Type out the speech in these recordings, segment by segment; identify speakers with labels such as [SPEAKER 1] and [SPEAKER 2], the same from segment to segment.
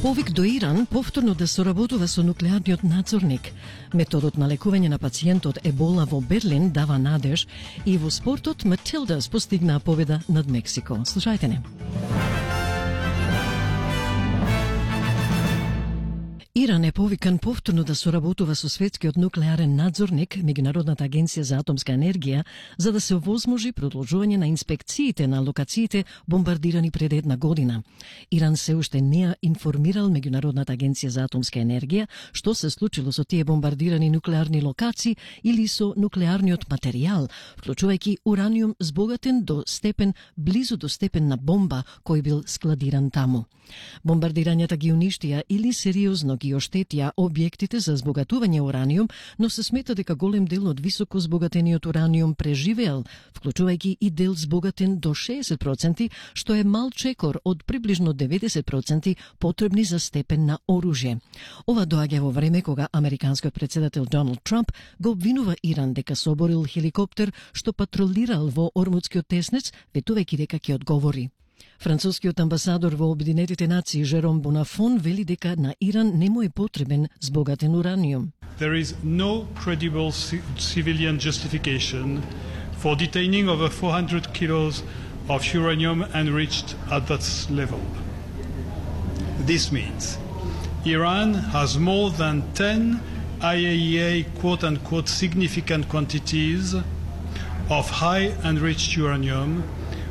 [SPEAKER 1] Повик до Иран повторно да соработува со нуклеарниот надзорник. Методот на лекување на пациентот Ебола во Берлин дава надеж и во спортот Матилдас постигнаа победа над Мексико. Слушајте не. Иран е повикан повторно да соработува со светскиот нуклеарен надзорник, Меѓународната агенција за атомска енергија, за да се овозможи продолжување на инспекциите на локациите бомбардирани пред една година. Иран се уште не ја информирал Меѓународната агенција за атомска енергија што се случило со тие бомбардирани нуклеарни локации или со нуклеарниот материјал, вклучувајќи ураниум збогатен до степен близу до степен на бомба кој бил складиран таму. Бомбардирањата ги уништија или сериозно ги оштетија објектите за збогатување ураниум, но се смета дека голем дел од високо збогатениот ураниум преживеал, вклучувајќи и дел збогатен до 60%, што е мал чекор од приближно 90% потребни за степен на оружје. Ова доаѓа во време кога американскиот председател Доналд Трамп го обвинува Иран дека соборил хеликоптер што патролирал во Ормудскиот теснец, ветувајќи дека ќе одговори. Францускиот амбасадор во Обединетите нации Жером Бонафон вели дека на Иран не му е потребен збогатен ураниум.
[SPEAKER 2] There is no credible civilian justification for detaining over 400 kilos of uranium enriched at that level. This means Iran has more than 10 IAEA quote-unquote significant quantities of high enriched uranium,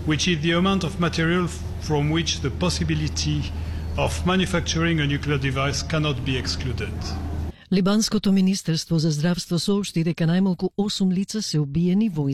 [SPEAKER 2] which is the amount of material from which the possibility of manufacturing a nuclear device cannot be excluded.
[SPEAKER 1] Либанското министерство за здравство соопшти дека најмалку 8 лица се убиени во